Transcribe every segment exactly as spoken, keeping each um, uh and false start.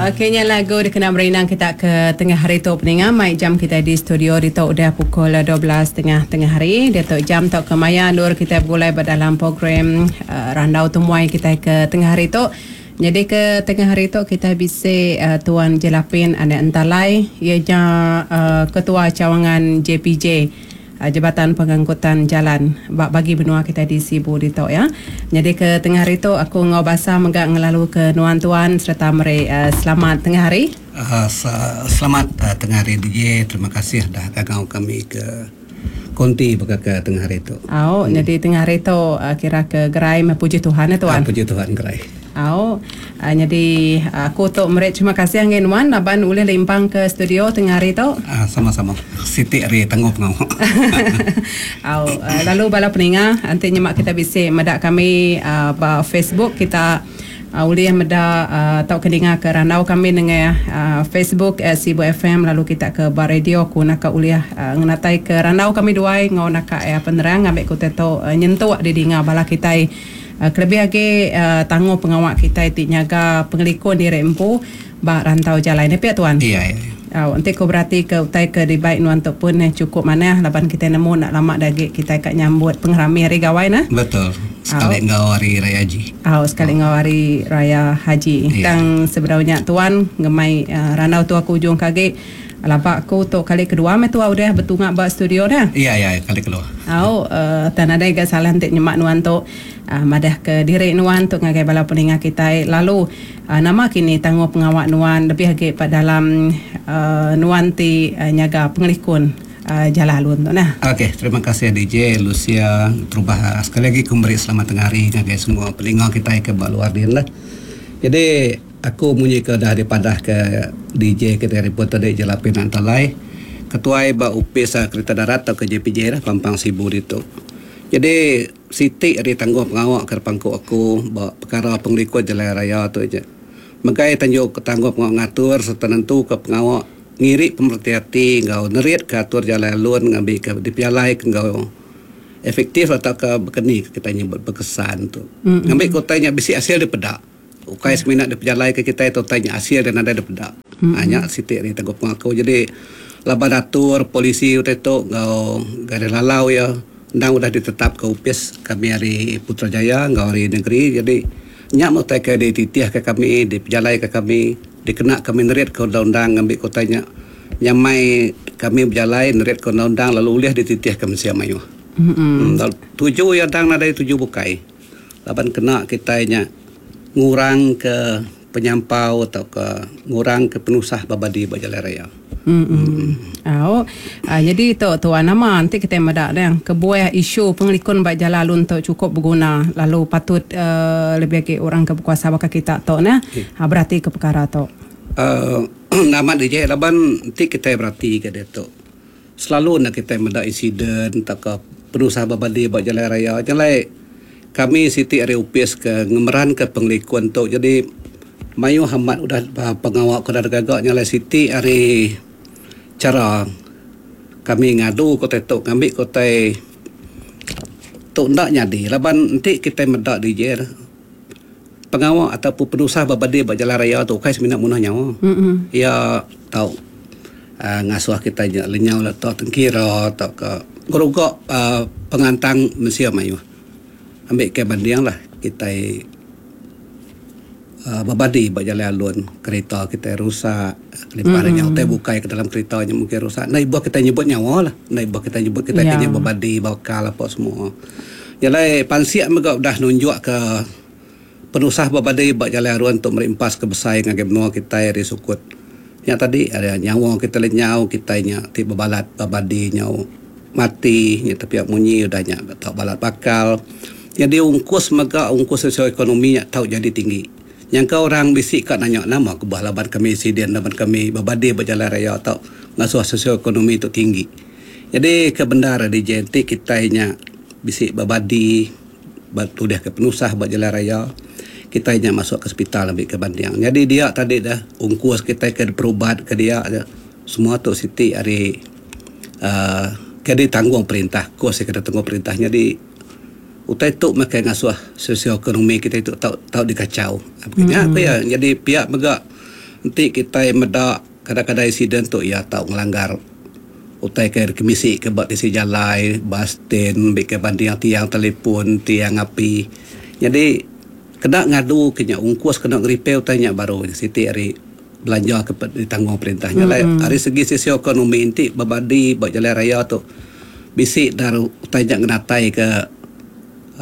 Okey, nya lagu dikena merindang kita ke tengah hari tu peninga. Mai jam kita di studio ditu udah pukul dua belas tengah tengah hari. Diatu jam tu ke maya endur kita begulai ba dalam program uh, Randau Temuai kita ke tengah hari tu. Jadi ke tengah hari tu kita bisi uh, Tuan Jelapin Anak Entalai, ianya uh, Ketua Cawangan J P J, Jabatan Pengangkutan Jalan bagi benua kita di Sibu ditu ya. Jadi ke tengah hari tu aku ngau basa megak ngelalu ke nuan tuan serta meri uh, selamat tengah hari. Uh, selamat uh, tengah hari D J. Terima kasih dah kagau kami ke konti baka ke tengah hari tu. Oh, hmm. Jadi tengah hari tu uh, kira ke gerai puji Tuhan ya tuan. Uh, puji Tuhan gerai. Oh, uh, jadi aku tu meri terima kasih ngan nuan laban ulih limpang ke studio tengah hari tu. Uh, sama-sama. Siti hari tangguh pengau. Oh, uh, lalu bala peninga nanti nyemak kita bisi medak kami uh, ba Facebook kita uh, ulih medak uh, tau keninga ke randau kami dengan uh, Facebook uh, Sibu F M, lalu kita ke ba radio ku nak ulih uh, ngenatai ke randau kami duai ngau nak uh, penerang ngambil ku teto uh, nyentuk di dinga bala kita. Uh, kelebih lagi uh, tangguh pengawak kita ti nyaga pengelikun diri empu ba rantau jalan ni pia tuan. Iya iya. Uh, nanti ko berarti ke utai ke dibaik nuan tu pun eh, cukup manah laban kita nemu nak lama dagi kita kat nyambut pengerami hari gawai nah. Betul. Sekali uh, ngau hari raya haji. Oh, sekali ngau hari raya haji. Iya. Tang sebenarnya tuan ngemai uh, randau tu aku ujung kagi labak aku tu kali kedua me tua udah betungak ba studio dah. Iya iya kali kedua. Au uh, tan ada gak salah entik nyemak nuan tu uh, madah ke diri nuan tu ngagai bala peninga kita lalu uh, nama kini tangguh pengawak nuan lebih agi pada dalam uh, nuan ti uh, nyaga pengelikun uh, jalan alun tu nah. Okey, terima kasih D J Lucia terubah sekali lagi ku beri selamat tengah hari ngagai semua peninga kita ke ba luar din lah. Jadi aku munyi ke dah dipadah ke D J kita reporter D J Jelapin Antalai, ketua ba Upis Kereta Darat atau ke J P J lah Pampang Sibu ditu. Jadi siti ari tangguh pengawak ke pangku aku ba perkara pengelikun jalan raya tu aja. Megai tanjuk ke tangguh pengawak ngatur serta nentu ke pengawak ngirik pemerhati hati ngau nerit ke atur jalan alun ngambil ke dipialai ke ngau efektif atau ke berkeni kita nyebut berkesan tu. Mm-hmm. Ngambil kotanya bisi hasil dipedak. Ukai seminat dia pejalai ke kita itu tanya hasil dan ada daripada. Mm-hmm. Hanya sitik ni tangguh pengaku. Jadi laban atur polisi utai tu ngau garis lalau ya ndang udah ditetap ke upis kami hari Putrajaya ngau hari negeri. Jadi nyak mau tai ke dititih ke kami dipejalai ke kami dikena kami nerit ke undang-undang ngambil kotanya nyamai kami berjalai nerit ke undang-undang lalu ulih dititih ke mensia mayuh. Mm-hmm. Hmm, tuju ya dang nadai tuju bukai. Laban kena kita nya ngurang ke penyampau atau ke ngurang ke penusah babadi ba jalan raya. Hmm. Mm. Oh, uh, jadi tu tuan nama nanti kita medak dah kebuah isu pengelikun ba jalan alun tu cukup berguna lalu patut uh, lebih lagi orang ke berkuasa bakal kita tu nah. Okay. Ha, berarti ke perkara tu. Uh, nama D J laban nanti kita berarti ke dia tu. Selalu nak kita medak insiden atau ke penusah babadi ba jalan raya. Jalan kami siti ari upis ke ngemeran ke pengelikun tu. Jadi mayu hamat udah pengawak ke dah gagak nyalai siti ari cara kami ngadu kota tu ngambil kota tu ndak nyadi laban nanti kita medak D J pengawak ataupun penusah babadi ba jalan raya tu kai semina munuh nyawa. Mm-hmm. Ya tau uh, ngasuh kita lenyau lah tau tengkira atau ke ngerugak uh, pengantang mensia mayu. Ambil ke banding lah kita uh, babadi ba jalan alun kereta kita rusak kelimpahan mm-hmm. nyawa bukai ke dalam kereta nya mungkin rusak nah ibu kita nyebut nyawa lah nah ibu kita nyebut kita yeah. kena babadi bakal apa semua jalai pansiak mega dah nunjuk ke penusah babadi ba jalan alun untuk merimpas ke besai ngagai benua kita dari sukut yang tadi ada nyawa kita lenyau kita nya ti babalat babadi nyawa mati nya tapi munyi udah nya tak balat bakal. Jadi ungkus mega ungkus sosioekonomi nya tau jadi tinggi. Yang kau orang bisik kat nanya nama ke bah laban kami insiden laban kami babadi berjalan raya atau ngasuh sosioekonomi tu tinggi. Jadi kebenaran di J N T kita nya bisik babadi batu dah ke penusah berjalan raya kita nya masuk ke hospital ambil ke banding. Jadi dia tadi dah ungkus kita ke perubat ke dia semua tu siti hari uh, ke ditanggung perintah kos ke ditanggung perintah. Jadi utai tu makan ngasuh sosioekonomi kita itu tau tau dikacau. Makanya Mm-hmm. apa ya jadi pihak mega Nanti kita meda kadang-kadang insiden tu ya tau ngelanggar utai ke kemisi ke buat isi jalai, bus stand, ke banding tiang telefon, tiang api. Jadi kena ngadu kena ungkus kena repair utainya baru siti hari belanja ke ditanggung perintahnya. Mm-hmm. Hari segi sisi ekonomi inti berbadi buat jalan raya tu bisi dar utainya ngenatai ke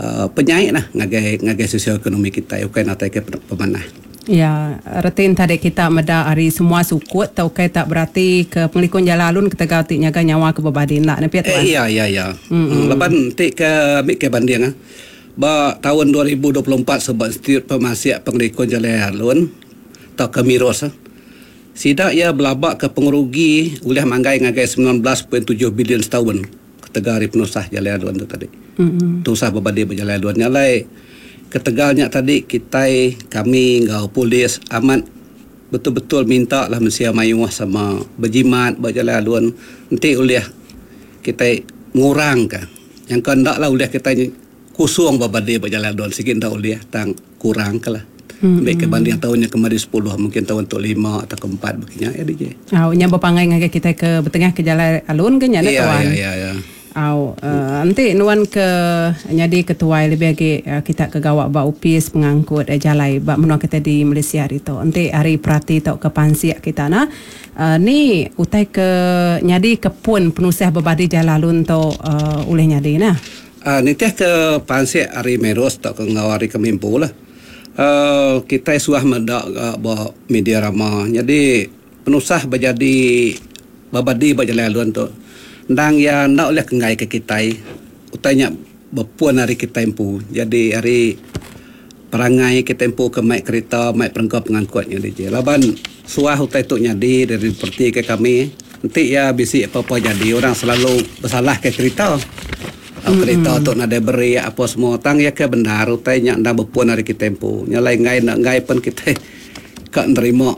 uh, penyaik lah ngagai ngagai sisi ekonomi kita ukai natai ke pemanah. Ya, retin tadi kita meda hari semua sukut tau kai tak berarti ke pengelikun jalan alun ketegal ti nyaga nyawa ke berbadi nak ne piat tuan. Eh, iya iya iya. Mm-hmm. Leban ti ke ambil ke banding ah. Ba tahun dua ribu dua puluh empat sebab Institut Pemasiak Pengelikun Jalan Alun atau ke Miros. Sidak ia belabak ke pengerugi oleh manggai ngagai sembilan belas perpuluhan tujuh bilion setahun ketegal hari penusah jalan alun tu tadi. Mm-hmm. Tusah berbadi berjalan alun nyalai ketegalnya tadi kita kami ngau polis amat betul-betul minta lah mensia mayuh sama berjimat berjalan alun nanti oleh kita ngurang ke yang kendak lah oleh kita kusung berbadi berjalan alun sikit ndak oleh tang kurang ke lah. Mm-hmm. Baik kebanding tahunnya kemarin sepuluh mungkin tahun untuk lima atau keempat begini ya D J. Au nya berpangai ngagai kita ke bertengah ke jalan alun ke nya ya, tuan. Ya ya ya. Au uh, nanti nuan ke nyadi ketua lebih lagi uh, kita ke gawak ba upis pengangkut eh, jalai ba menua kita di Malaysia hari tu. Nanti hari perhati tau ke pansiak kita nah. Uh, ni utai ke nyadi ke pun penusah berbadi jalan alun tu uh, oleh nyadi nah. Uh, nitih ke pansiak hari Meros tau ke ngau hari kemimpu lah. Uh, kita suah mendak uh, ba media rama. Jadi penusah berjadi berbadi berjalan alun tu. Ndang ya ndak oleh kengai ke kita. Utainya berpuan hari kita empu. Jadi hari perangai kita empu ke mai kereta, mai perengka pengangkutnya D J. Laban suah utai tu nyadi dari seperti ke kami. Nanti ya bisi apa-apa jadi orang selalu bersalah ke kereta. Mm-hmm. Kereta tu nak beri apa semua tang ya ke benar utainya ndak berpuan hari kita empu. Nyalai ngai nak ngai pun kita kak nerima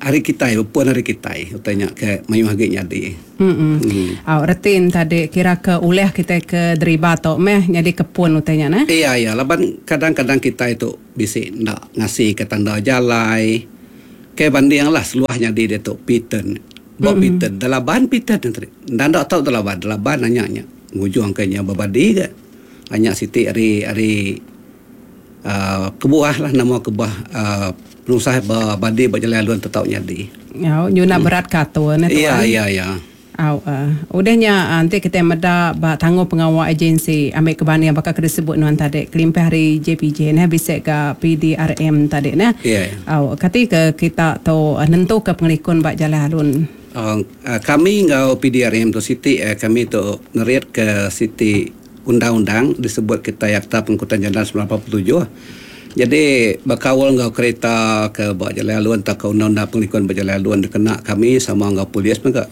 hari kita berpuan hari kita utainya ke mayu hagi nyadi. Hmm. Mm. Au retin tadi kira ke uleh kita ke deriba tok meh jadi kepun utainya nah. Iya iya laban kadang-kadang kita itu bisi ndak ngasih ke tanda jalai. Ke banding lah seluahnya di dia tu Piton. Ba mm-hmm. Piton dalaban Piton tadi. Ndak ndak tahu dalaban dalaban nanya-nya. Ngujung kayaknya berbadi ke. Hanya siti hari hari uh, kebuah lah nama kebuah uh, penusah berbadi berjalan alun tetap nyadi. Ya, nyuna hmm. berat kato ne tuan. Iya iya iya. Au uh, udahnya nanti kita meda ba tangguh pengawal agensi ambil kebani yang bakal disebut nuan tadi kelimpah hari J P J nah bisa ke P D R M tadi nah. Ya. Yeah. Au kati ke kita tu nentu ke pengelikun ba jalan alun. Uh, kami ngau P D R M tu siti eh, kami tu ngerit ke siti undang-undang disebut kita Akta Pengangkutan Jalan sembilan empat tujuh. Jadi berkawal ngau kereta ke ba jalan alun atau ke undang-undang pengelikun berjalan alun dikena kami sama ngau polis juga.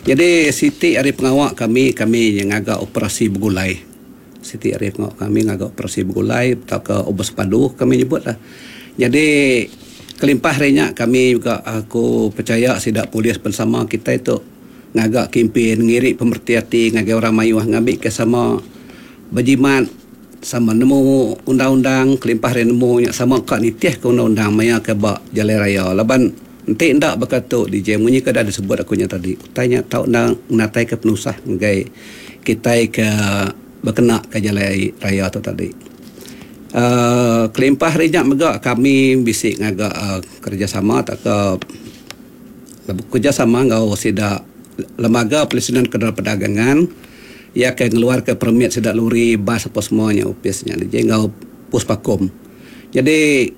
Jadi siti hari pengawak kami kami yang agak operasi bergulai. Siti hari pengawak kami ngagak operasi bergulai atau ke obos padu kami nyebut lah. Jadi kelimpah harinya kami juga aku percaya sidak polis bersama kita itu ngagak kempen ngirik pemerhati ngagai orang mayuh ngambil ke sama berjimat sama nemu undang-undang kelimpah hari nemu sama kak nitih ke undang-undang maya ke bak jalan raya laban enti ndak berkata D J munyi ke dah disebut akunya tadi tanya tau nang natai ke penusah ngagai kita ke berkena ke jalan raya tu tadi. Uh, kelimpah harinya mega kami bisik ngagak uh, kerjasama tak ke kerjasama ngau sidak lembaga pelisinan kenderaan perdagangan ia ke ngeluar ke permit sidak lori bas apa semuanya upisnya dia ngau puspakom. Jadi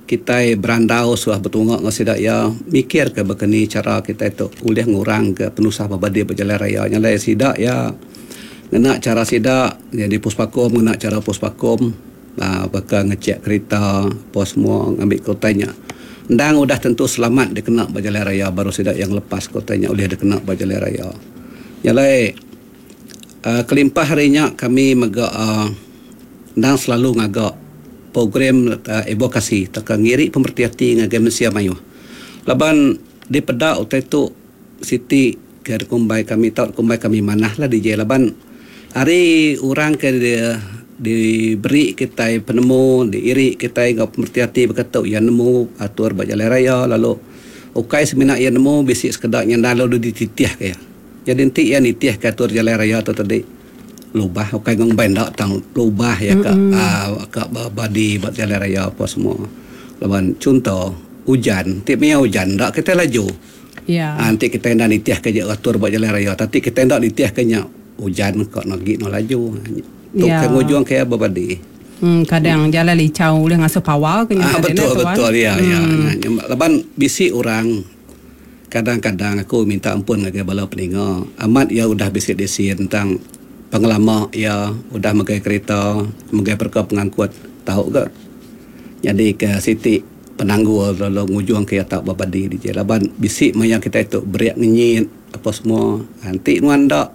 kita berandau suah bertungak ngau sidak ya mikir ke berkeni cara kita itu boleh ngurang ke penusah berbadi berjalan raya nyalai sidak ya ngena cara sidak jadi puspakom ngena cara puspakom. Uh, bakal ngecek kereta apa semua ngambil kotanya. Ndang udah tentu selamat dikena berjalan raya baru sidak yang lepas kotanya oleh dikena berjalan raya. Nyalai uh, kelimpah harinya kami mega uh, ndang selalu ngagak program uh, evokasi teka ngiri pemerhati ngagai mensia mayuh. Laban di pedak utai tu siti ke kumbai kami tau kumbai kami manah lah D J laban hari orang ke dia Diberi kita penemu, diiri kita ngau pemerti hati berkata ia nemu atur ba jalan raya lalu ukai semina ia nemu bisi sekedak nya lalu dititih ke ya. Jadi nanti ia nitih ke atur jalan raya tu tadi lubah ukai ngong benda tang lubah ya ka uh, ka badi ba jalan raya apa semua. Laban contoh hujan, ti maya hujan ndak kita laju. Ya. Ha, nanti kita ndak nitih ke atur ba jalan raya, tapi kita ndak nitih ke nya hujan kok nagi no laju. Tu ya. Ke ngujung ke berbadi. Hmm, kadang jalan licau boleh ngasuh power ke ah, betul tuan. Betul ya hmm. ya. Laban bisi orang kadang-kadang aku minta ampun ngagai bala peninga. Amat ya udah bisi disi tentang pengelama ya udah megai kereta, megai perka pengangkut tahu ke. Jadi ke siti penanggul lalu ngujung ke tak berbadi di jalan. Laban bisi maya kita itu beriak ngenyit apa semua. Nanti nuan dak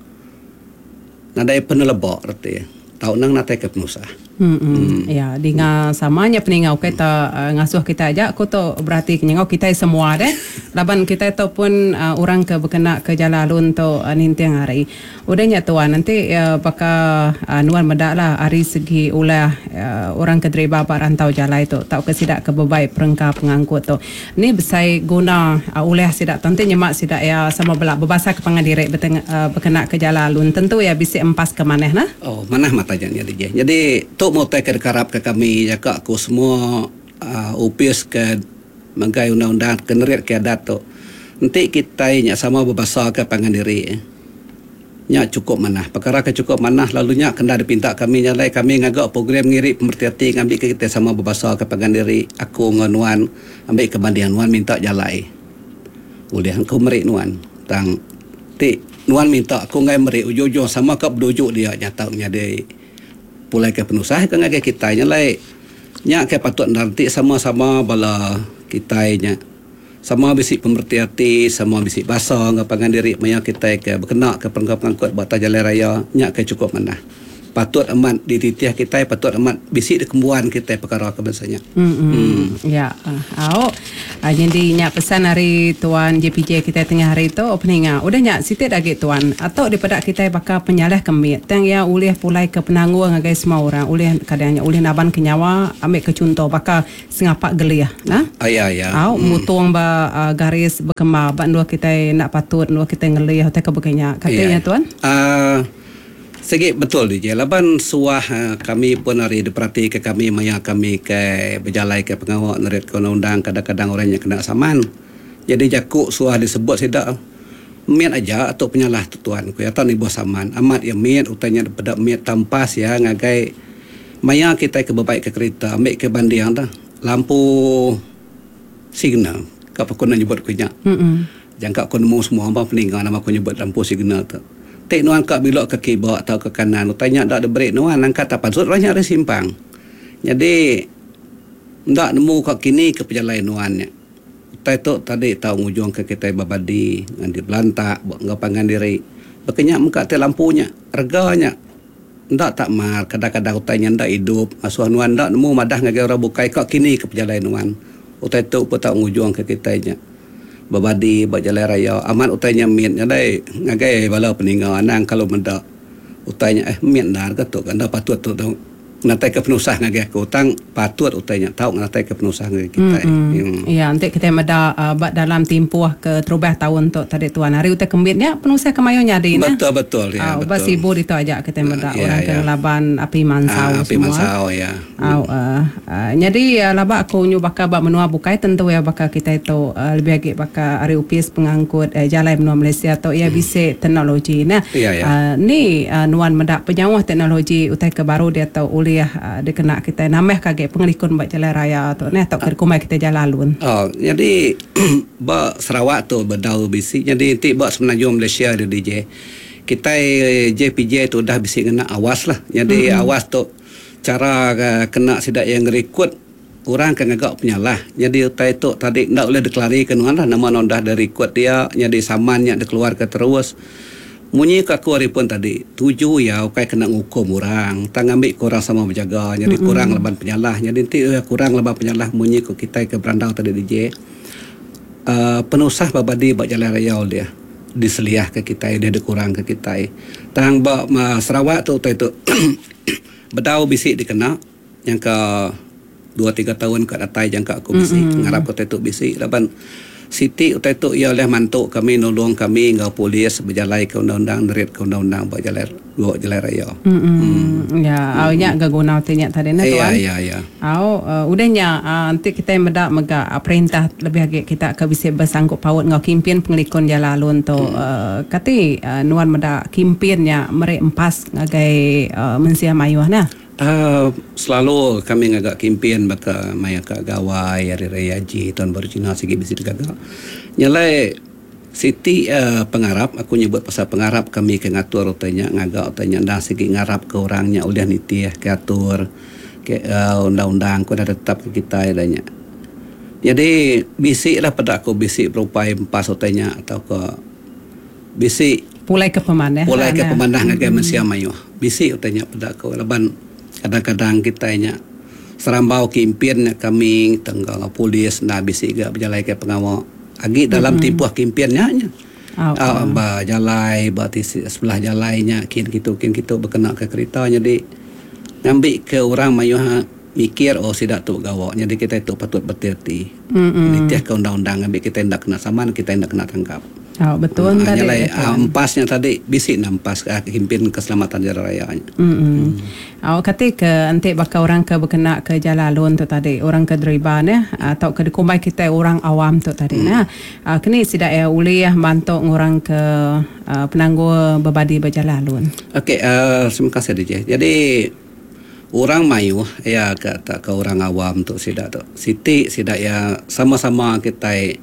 nadai penelebak reti. Tau nang natai ke penusah. Hmm, hmm. Ya, dengar samanya peningau kita uh, ngasuh kita aja aku tu berarti kenyangau kita semua deh. Laban kita tu pun uh, orang ke berkena ke jalan alun tu uh, nintiang hari. Udahnya tuan nanti uh, baka uh, nuan medak lah hari segi ulah uh, orang ke driba ba rantau jalan tu tau ke sidak ke bebai perengka pengangkut tu. Ni besai guna uh, ulah sidak tentu nyemak sidak ya sama belak berbahasa ke pangan direk beteng, uh, berkena ke jalan alun tentu ya bisi empas ke maneh nah. Oh, manah mata jadi jadi tu mau tak kerap ke kami jaga aku semua uh, upis ke menggai undang-undang kenerit ke adat tu. Nanti kita nya sama berbahasa ke pangan diri. Nya cukup manah. Perkara ke cukup manah lalu nya kena dipinta kami nyalai kami ngagak program ngiri pemerti ngambil ke kita sama berbahasa ke pangan diri. Aku nganuan ambil ke bandingan nuan minta jalai. Boleh aku merik nuan. Tang ti nuan minta aku ngai merik ujung-ujung sama ke berdujuk dia nyata nya dia pulai ke penusah ke ngagai kita nya lai nya ke patut nanti sama-sama bala kita nya sama bisi pemerti hati sama bisi basa ngapangan diri maya kita ke berkena ke perengka pengangkut ba jalan raya nya ke cukup manah patut amat dititih kita patut amat bisi dikembuan kita perkara ke bangsanya. Hmm, hmm. Ya, au. Jadi nya pesan hari tuan J P J kita tengah hari tu opening ah. Udah nya sitit lagi tuan atau daripada kita bakal penyalah kemit tang ya ulih pulai ke penanggung ngagai semua orang ulih kadangnya ulih naban ke nyawa ambil ke contoh bakal sengapak geliah nah. Ah, ya ya. Au hmm. Mutung ba uh, garis berkemar ba dua kita nak patut dua kita ngelih atau ke begenya katanya ya. Tuan. Ah uh, Segi betul D J. Laban suah kami pun hari diperhati ke kami maya kami ke berjalai ke pengawak nerit ke undang-undang kadang-kadang orangnya kena saman. Jadi jakuk suah disebut sidak miat aja atau penyalah tu tuan ku ya ni bos saman. Amat ya miat utanya pada miat tampas ya ngagai maya kita ke bebaik ke kereta ambil ke banding dah lampu signal ka aku nak nyebut ku nya. Mm-mm. Jangka aku nemu semua abang peninggal nama aku nyebut lampu signal tu. Tek nuan kat bilok ke kibak atau ke kanan tanya dak ada break nuan angkat tak pansut banyak ada simpang. Jadi ndak nemu kat kini ke perjalanan nuannya. Tai tu tadi tahu ngujung ke kita babadi ngan di belantak buat ngapangan diri. Bekenyak muka te lampunya, reganya ndak tak mar kadang-kadang utainya ndak hidup asuh nuan ndak nemu madah ngagai orang bukai kat kini ke perjalanan nuan. Utai tu pun tak ngujung ke kita nya. Berbadi buat jalan raya amat utainya miat nyadai ngagai bala peninggal anang kalau mendak utainya eh miat nar ke tu kan dah patut tu tu ngatai ke penusah ngagai aku utang patut utainya tahu ngatai ke penusah ngagai kita. Hmm. Hmm. Ya nanti kita meda uh, bak dalam timpuh ke terubah tahun tu tadi tuan hari utai kembitnya penusah kemayo nyadi nah. Betul betul ya uh, betul. Bas ibu itu aja kita meda uh, ya, orang ya. ke ngelaban api mansau uh, api semua. Mansau ya. Uh, uh, uh, jadi uh, labak aku nyu bakal bak menua bukai tentu ya bakal kita itu uh, lebih agi bakal hari upis pengangkut uh, jalan menua Malaysia tu ya hmm. bisa teknologi nah. Ya, ya. Uh, ni uh, nuan medak penyawah teknologi utai ke baru dia tau oleh uh, dikena kita nambah kage pengelikun bak jalan raya tu nah tok kumai kita jalan alun. Oh, jadi bak Sarawak tu bedau bisi jadi nanti bak Semenanjung Malaysia dia D J. Kita J P J tu dah bisi kena awas lah. Jadi mm-hmm. awas tu cara uh, kena sidak yang ngerikut orang kan agak penyalah. Jadi utai tu tadi ndak boleh deklarasikan lah nama non dah dari record dia jadi samannya dikeluarkan terus. Munyi ke aku hari pun tadi tuju ya ukai kena ngukum orang tang ambil kurang sama berjaga jadi mm-hmm. kurang leban penyalah jadi nanti ya, kurang leban penyalah munyi ke kita ke berandau tadi D J uh, penusah babadi bak jalan raya dia diseliah ke kita dia dikurang ke kita tang bak Sarawak tu tu itu Bedau bisi dikena yang ke dua tiga tahun ke datai jangka aku bisi mm-hmm. ngarap ke tu bisi laban siti utai tu ia oleh mantu kami nulung kami ngau polis berjalai ke undang-undang nerit ke undang-undang ba jalai dua jalai raya. Mm-hmm. Mm. Ya, au nya ga guna utai nya tadi na tuan. Ya ya ya. Au uh, udah nya uh, nanti kita meda mega uh, perintah lebih agi kita ke bisi bersangkup paut ngau kimpin pengelikun jalan alun tu mm. uh, kati uh, nuan meda kimpin nya mere empas ngagai uh, mensia mayuh nah. Uh, selalu kami ngagak kimpin baka maya ka gawai hari raya haji tahun baru Cina sigi bisi digaga. Nyalai siti uh, pengarap aku nyebut pasal pengarap kami ke ngatur utainya ngagak utainya dah sigi ngarap ke orangnya udah nitih ke atur ke uh, undang-undang ku dah tetap ke kita adanya. Jadi bisi lah pada aku bisi berupai empas utainya atau ke bisi pulai ke pemanah pulai ke pemanah ngagai hmm. mensia mayuh. Bisi utainya pada aku laban kadang-kadang kita nya serambau kimpin kami tenggang polis nah bisi ga berjalai ke pengawal agi dalam mm-hmm. timpuh kimpinnya nya. Oh, oh. Ba jalai ba tisi sebelah jalainya kin kitu kin kitu berkena ke kereta jadi ngambil ke orang mayuh mikir oh sidak tu gawak jadi kita itu patut berhati-hati. Mm-hmm. Nitih ke undang-undang ngambil kita ndak kena saman kita ndak kena tangkap. Oh, betul ha, tadi. Nyalai, empasnya tadi bisi nampas ke kimpin keselamatan jalan raya. Mm-hmm. Hmm. Oh, kata ke entik bakal orang ke berkena ke jalan alun tu tadi, orang ke deriba ne atau ke dikumbai kita orang awam tu tadi hmm. nah. Uh, kini sidak ya ulih bantu orang ke uh, penangguh berbadi berjalan alun. Okey, uh, terima kasih D J. Jadi orang mayuh ya ke tak ke orang awam tu sidak tu. Siti sidak ya sama-sama kita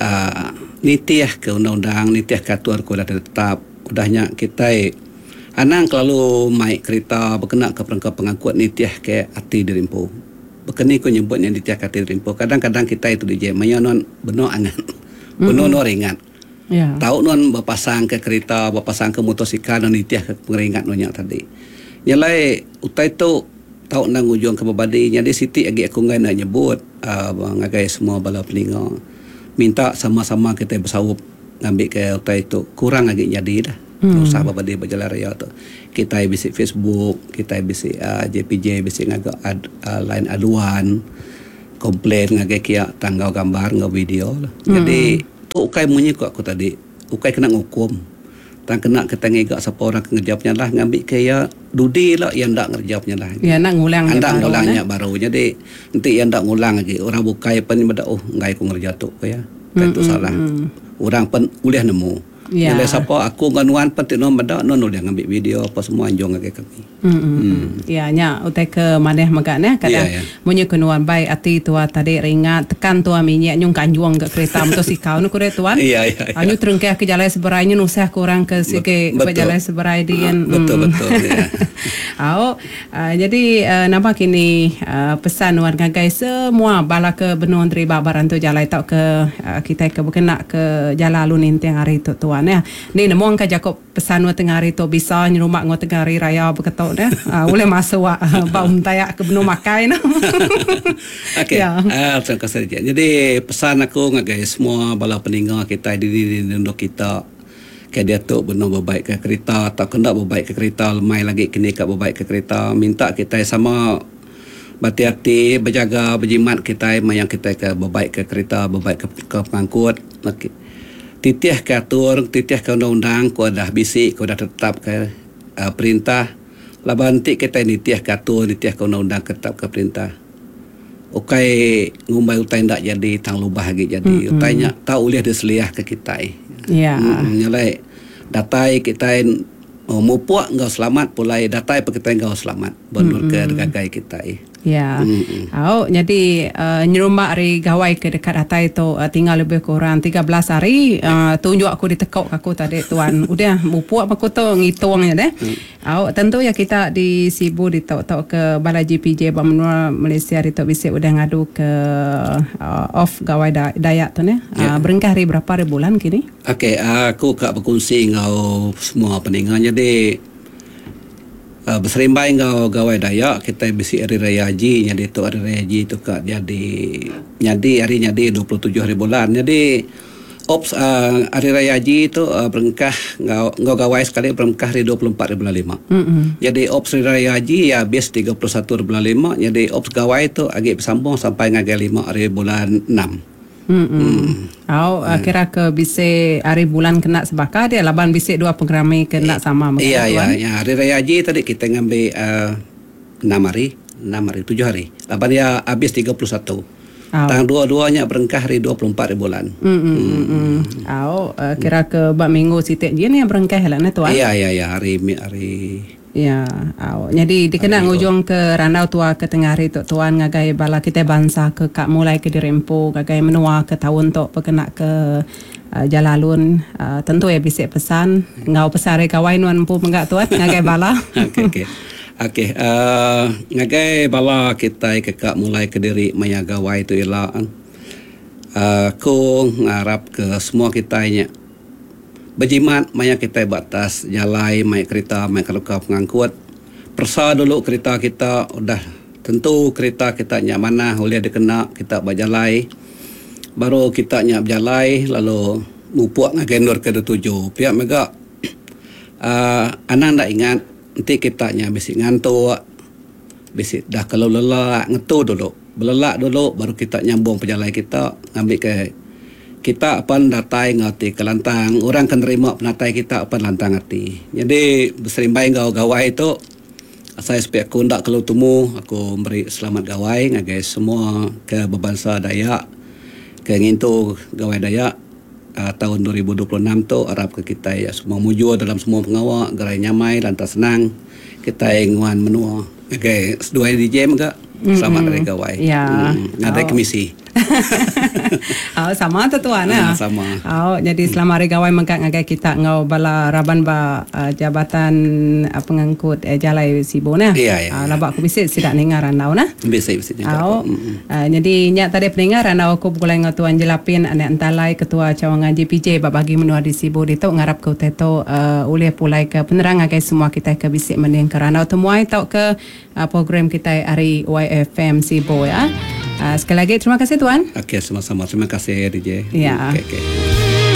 uh, nitih ke undang-undang, nitih ke aturan ku dah tetap. Udahnya kita anang kelalu mai kereta berkena ke perengka pengangkut nitih ke ati dirimpu. Bekeni ku nyebutnya nitih ke ati dirimpu. Kadang-kadang kita itu D J maya non beno angan. Beno mm-hmm. non ringat. Yeah. Tahu non berpasang ke kereta, berpasang ke motosikal non nitih ke pengeringat non nya tadi. Nyalai utai tu tahu nang ujung ke berbadi. Jadi siti agi aku ngai nak nyebut uh, ngagai semua bala peninga. Minta sama-sama kita bersaup ngambil ke utai tu kurang lagi jadi dah. Hmm. Usah berbadi berjalan raya tu. Kita bisi Facebook, kita bisi uh, J P J bisi ngagak ad, uh, line aduan, komplain ngagai kia tanggau gambar ngau video lah. Hmm. Jadi tu ukai munyi ku aku tadi, ukai kena ngukum. Tang kena kita ngigak siapa orang ngerja penyalah ngambil ke ya dudi lah yang ndak ngerja penyalah. Ya nak ngulang ndak ngulangnya baru. Jadi nanti yang ndak ngulang lagi orang bukai pen beda oh ngai ku ngerja tu ke ya. Mm, itu salah. Mm. Orang pen ulih nemu. Ya. Bila siapa aku nganuan pen tino beda non ulih ngambil video apa semua anjung ngagai kami. Hmm. Mm. Ya nya utai ke maneh mega ne kadang ya, ya. Munyi kenuan bai ati tua tadi ringat tekan tua minyak nyung kanjuang ke kereta motosikal nu kure tuan. Ya ya. Ya. Anyu terengkeh ke jalan seberai nyu nusah ke orang ke sike ke jalan seberai dien. Betul mm. betul ya. Au uh, jadi uh, nampak kini uh, pesan nuan ngagai semua bala ke benua terima barang tu jalai tau ke uh, kita ke berkena ke jalan alun intiang hari tu tuan ya. Ni nemu angka Jacob pesan nuan tengah hari tu bisa nyerumak ngau tengah hari raya berketok dah. Uh, boleh masuk uh, bau tayak ke benua makai no. Okey. Ya. Uh, terima kasih. Jadi pesan aku ngagai semua bala peninggal kita di di di kita ke dia tu benar berbaik ke kereta atau kendak berbaik ke kereta lemai lagi kini kat berbaik ke kereta minta kita sama berhati-hati berjaga berjimat kita mayang kita ke berbaik ke kereta berbaik ke, ke pengangkut. Okey. Titih ke atur titih ke undang-undang ku dah bisik ku dah tetap ke uh, perintah laban nanti kita nitih ke atur nitih ke undang-undang tetap ke perintah. Ukai ngumbai utai ndak jadi tang lubah lagi jadi mm-hmm. utainya tak boleh diseliah ke kita. Ya. Hmm, nyalai datai kita oh, mupuk enggau selamat pulai datai pe kita enggau selamat benur mm-hmm. ke gagai kita. Ya. Mm-hmm. Au jadi uh, nyerumak hari gawai ke dekat datai tu uh, tinggal lebih kurang tiga belas hari uh, tunjuk aku ditekuk aku tadi tuan. Udah mupuk aku tu ngitungnya deh. Mm. Au tentu ya kita di Sibu di tok-tok ke Balai J P J ba menua Malaysia di tok bisik udah ngadu ke uh, off gawai da- Dayak tu ne. Yeah. Uh, berengkah hari berapa hari bulan kini? Okey, aku kak berkongsi ngau semua pendengar. Jadi Uh, berserimbai ngau gawai Dayak kita bisi hari raya haji jadi tu hari raya haji tu kak jadi jadi hari jadi dua puluh tujuh hari bulan. Jadi Ops uh, Hari Raya Haji tu uh, berengkah ngau ngau gawai sekali berengkah hari dua puluh empat bulan lima. Mm-hmm. Jadi ops Hari Raya Haji ya habis tiga puluh satu bulan lima. Jadi ops gawai tu agak bersambung sampai ngagai lima hari bulan enam. Hmm. Mm. Au mm. Kira ke bisa hari bulan kena sebaka dia laban bisa dua program kena sama. Iya iya ya Hari Raya Haji tadi kita ngambil uh, enam hari, enam hari, tujuh hari. Laban dia habis tiga puluh satu. Oh. Tang dua-duanya berengkah hari dua puluh empat bulan. Hmm. Hmm. Hmm. Au uh, kira ke bak minggu sitik je ni yang berengkah lah ne tuan. Iya iya iya hari hari ya, au. Jadi dikena ngujung ke randau tua ke tengah hari tu tuan ngagai bala kita bangsa ke kak mulai ke dirempo ngagai menua ke tahun tu pekena ke uh, jalalun uh, tentu ya bisik pesan ngau pesan hari gawai nuan empu menggak tuan ngagai bala. Okey okey. Okey, uh, ngagai bala kita ke kak mulai ke diri maya gawai tu ila. Uh, aku ngarap ke semua kita nya berjimat maya kita batas jalai mai kereta mai keluka pengangkut. Persa dulu kereta kita udah tentu kereta kita nya mana boleh dikena kita berjalai. Baru kita nya berjalai lalu mupuk ngagai nur ke tujuh. Pihak mega uh, anang dak ingat nanti kita nya bisi ngantuk bisi dah kalau lelak ngetu dulu. Belelak dulu baru kita nyambung perjalanan kita ngambil ke kita apan datai ngati ke lantang orang kan terima penatai kita apan lantang hati. Jadi berserimbai ngau gawai tu saya sepik aku ndak kalau temu aku beri selamat gawai ngagai semua ke berbangsa Dayak ke ngintu gawai Dayak uh, tahun dua ribu dua puluh enam tu harap ke kita ya semua mujur dalam semua pengawak gerai nyamai lantas senang kita nguan menua ngagai seduai D J mega selamat hari gawai. Ya. Hmm, ada kemisi. Oh, sama tu tuan ya. Sama. Oh, jadi selamat hari gawai mengkat ngagai kita ngau bala raban ba uh, jabatan uh, pengangkut eh, jalai Sibu nah. Ya, ya, uh, ya. Labak aku bisik sidak ningar randau nah. Bisik bisik juga. Oh, uh, jadi nyak tadi peningar randau aku pulai ngau tuan Jelapin anak entalai ketua cawangan J P J bab bagi menua di Sibu ditu ngarap ke teto uh, ulih pulai ke penerang ngagai semua kita ke bisik mending ke randau temuai tau ke uh, program kita hari Y F M Sibu ya. Uh, sekali lagi terima kasih tuan. Okey, sama-sama. Terima kasih D J. Ya. Okey, okey.